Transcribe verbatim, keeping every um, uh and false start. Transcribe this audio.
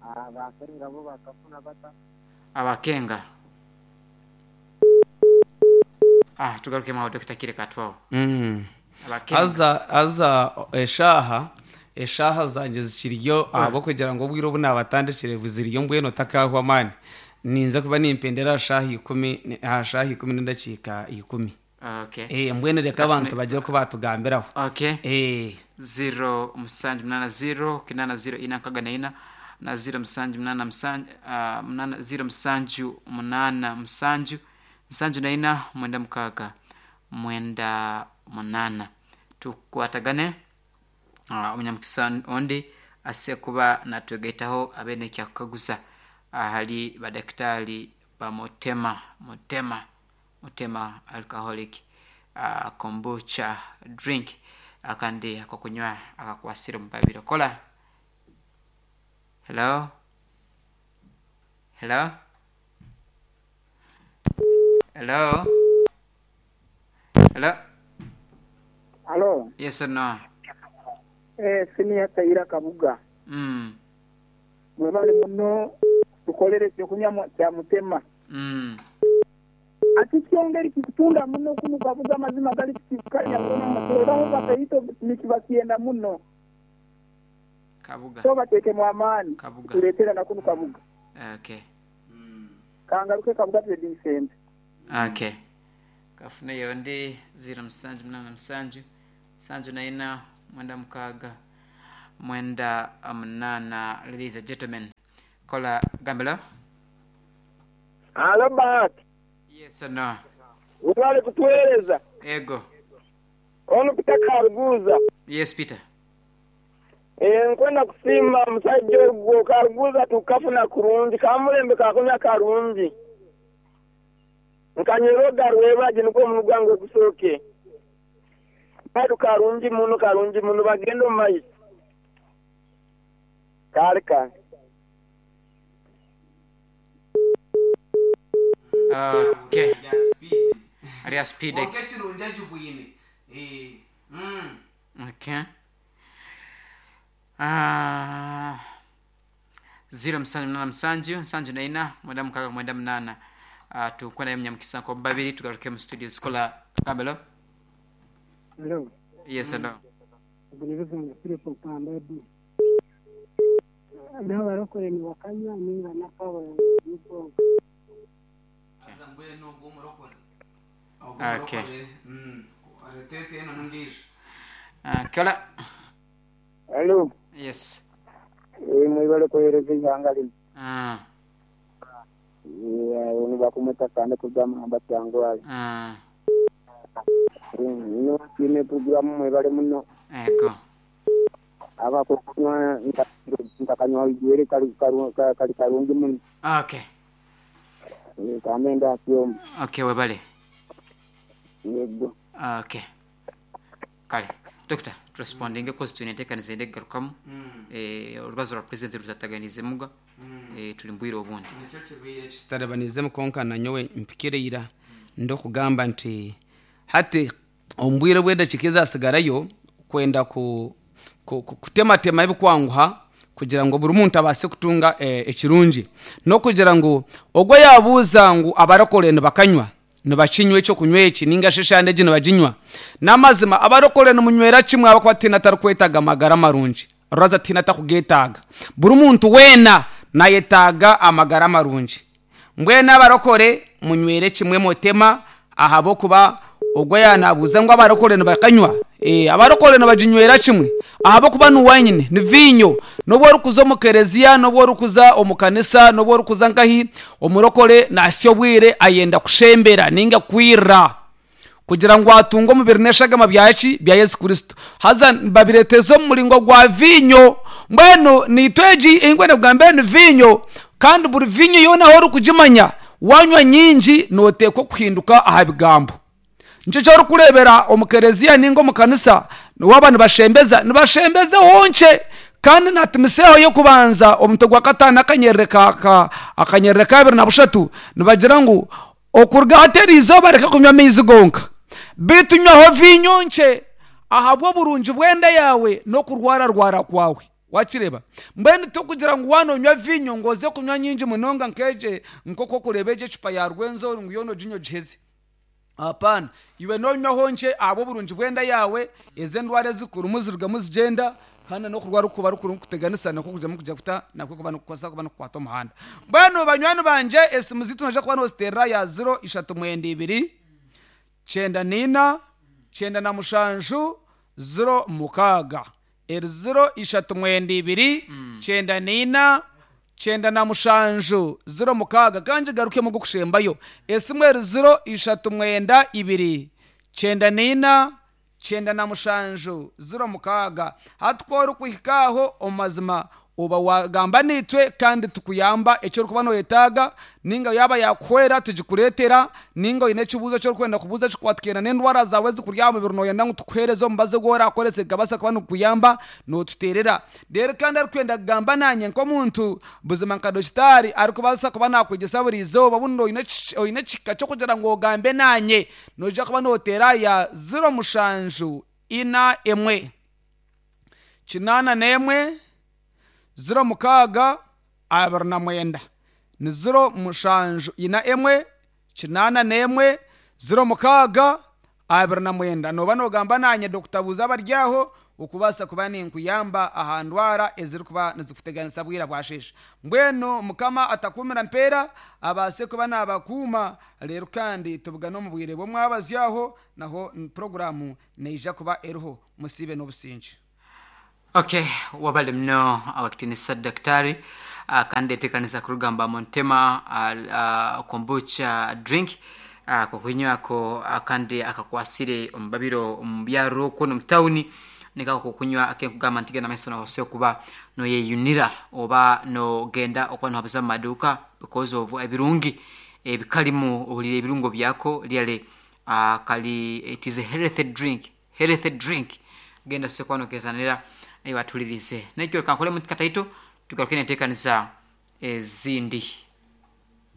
Abakenga bo bakafuna bata? Abakenga, ah, tugarukemu aho, Dokita Kireka, twaho. Mm. Abakenga. Aza aza eshaha eshaha zangye zikiriyo ahabwokugira ngu obwire obu nabatandikire buziriyo, mbwenu otakahwa amaani, ninza kuba nimpendera aha shaaha ikumi, aha shaaha ikumi n'endakiika ikumi. Okay. Eh, mbwenu reka abantu bagire oku batugambiraho. Okay. Eh, ziro musanju munana ziro kinana ziro ina nkaga na ina na ziro musanju munana musanju, uh, munana ziro musanju munana musanju nsanju na ina mwenda mukaaga mwenda munana. Tukwatagane. uh, omunyamukisa ondi ase kuba natwegaitaho abe nekyakukaguza ahali badakitari ba Mutema Mutema Mutema Alcoholic uh, Kombucha drink, akandi akokunywa akakwasire omubabiro. Kola. Hello, hello, hello, hello. Alo. Yes or no? Eh, siniya Taira Kabuga. mm Mwebale muno tukolere ekyokunywa mu- kya Mutema. mm Ati kyongeri kikutunda muno kunu Kabuga, mazima gali kikukanya muno mutoraho bakaito nikibakyenda muno. Kabuga. So bateekemu amaani. Kabuga. Tuletera na kunu Kabuga. Okay. Kangaruke Kabuga Trading Center. Okay, kafuneyo ndi ziro musanju munana musanju nsanju na ina mwenda mukaaga mwenda munana. Ladies and gentlemen, kola gambelo. Alo, Bahati. Yes or no? Webale kutuweereza. Ego. Ono Peter Karuguza. Yes, Peter. Eh, nkwenda kusiima musajja ogwo Karuguza, tukafuna kurungi kamulembe kakunywa karungi nkanyera rwebaji nukwo omunu gwange gusooke badu karungi muno, karungi muno, bagenda omu maiso kale kale. Okay, ria speed. Konka ekirungi agibwine. Eh, mm. Okay. Ah, ziro musanju munana musanju nsanju na ina mwenda mukaaga mwenda munana. uh, tukwenda munyamukisa nko babiri tugaruke mu studio. Sikola gambelo. Hello. Yes or no? Ubunebezanga Philip Mpambadu. Naho barokore ni wakanywa ninga nakawa nibwo. Aza mbwenu ogwo omurokore. Ogwo Okay. omurokore, mm. Areetete eno n'ondiijo. Uh, kola. Alo. Yes. Eh, mwebale kuweereza eihanga lino. Ah, Eh, ono bakumweta kande kugamba kyangwali. ah, Ino kiine programu, mwebale muno. Ego. Abakunywa ntakanywa igwere kali karu- ka- kali karungi muno. Okay. Eh, kamenda akyoma. Okay, webale. Yego. Okay, kale Doctor, turespondinge kozi twine enteekaniza ende kugarukamu. Eh, orubazo rwa president rutataganizemuga. Eh, turi mbwire obundi. Nikyo kibaire kitarabanizemu, konka nanyowe mpikire ira ndokugamba nti hati omu bwire bw'edakiika ezasigarayo kwenda ku, ku, ku, kutematema ebikwanguha kugira ngu buri muntu abase kutunga eh, ekirungi, n'okugira ngu ogwo yabuuza ngu abarokore nibakanywa, nibakinywa ekyokunywa eki ninga shi eshande egi nibaginywa. N'amazima abarokore nimunywera kimwe, abakuba tiina atarikwetaaga amagara marungi, rwaza tiina atakugetaaga. Buri muntu weena nayetaaga amagara marungi. Mbwenu abarokore munywere kimwe Mutema, ahabwokuba ogwo yanabuuza ngu abarokore nibakanywa, eh, abarokore nibaginywera kimwe, ahabwokuba ni wanyine, ni vinyo. N'obu orikuza omu kereziya, n'obu orikuza omu kanisa, n'obu orikuza nkahi, omurokore nasya obwire ayenda kushembera ninga kwirra kugira ngu atunge omubiri n'eshagama byaki bya Yesu Kristo, haza babireteza omu muringo gwa vinyo. Mbwenu nitwe egi engwene kugambire ni vinyo, kandi buri vinyo yoona aho orikugimanya wanywa nyingi noteekwa kuhinduka aha bigambo. Nikyo kyorikureebera omu kereziya ninga omu kanisa waba nibashembeza, nibashembeza honke. Kandi natimiseho y'okubanza omutwe gwa kataano akanyerere ka, ka, akanyerere kabiri na bushatu, nibagira ngu okuruga hateri izooba reka kunywa amaizi gonka, bitu nywaho vinyo nkye ahabw'oburungi bw'enda yawe n'okurwararwara kwawe. Wakireba, mbwenu tokugira ngu wanonywa vinyo ngo oze kunywa nyingi munonga nkeje nk'oku okureba egyo ecupa ya Rwenzori ngu yoona oginywe ogiheze. Hapana, iwe nonywaho nkye ahabw'oburungi bw'enda yawe, ezi endwara ezikurimu zirugamu zigenda, kandi n'okurwara okuba rukurimu kuteganisa nakwo kujamu kujya kuta nakwo kuba nikukwasa kuba nikukwata omuhanda. Mbwenu banywani bangye, esimu ziitu noija kuba nooziteerera ya ziro ishatu mwenda ibiri kyenda niina kyenda na mushanju ziro mukaaga, eri ziro ishatu mwenda ibiri kyenda niina kyenda na mushanju ziro mukaaga. Kandi ngigarukemu ogw'okushembayo, esimu eri ziro ishatu mwenda ibiri kyenda niina kyenda na mushanju ziro mukaaga. Hati ku orikuhika aho, omu mazima oba wagamba naitwe kandi tukuyamba eki orikuba noyetaaga, ninga yaaba yakuhwera tugikureetera, ninga oine ekibuuzo eki orikwenda kubuuza kikwatikene n'endwara zaawe ezikuri aha mubiri, noyenda ngu tukuheereze omubazi ogu orakoresa gikabaasa kuba nigukuyamba, nootuteerera. Reero kandi arikwenda kugamba naanye nk'omuntu buzima nka dokitaari arikubaasa kuba nakwegyesa buri izooba, obundi oine eki- oine ekihika ky'okugira ngu ogambe naanye, noija kuba nooteera ya ziro mushanju ina emwe kinaana n'emwe ziro mukaaga abiri na mwenda, ni ziro mushanju ina emwe kinaana n'emwe ziro mukaaga abiri na mwenda. Nooba noogamba naanye Dokita Buuza Abaryaho, okubaasa kuba ninkuyamba aha ndwara ezirikuba nizikuteganisa bwira bwasheesha. Mbwenu Mukama atakuumira mpeera abaase kuba naabakuuma. Reero kandi tubugane omu bwire bw'omwabazyo, aho naho puroguraamu neija kuba eriho. Musiibe n'obusingye. Okay, wabale mno abakitinisa daktari. uh, kandi etekanisa kurugamba Montema uh, uh, kombucha drink uh, kokunywako uh, kandi akakwasire omubabiro omu byaro okwo n'omu tawuni nikako kokunywa akenkugamba nti genda maiso nohose kuba noyeyunira oba nogenda okuba nohabuza mu maduuka because of ebirungi ebikalimu, ohulire ebirungo byako lyale. uh, kali it is a healthy drink, healthy drink. Genda sekuba nokezanira ebatulirize nekyo. Kankole muti kataito, tugaruke nenteekaniza ezindi.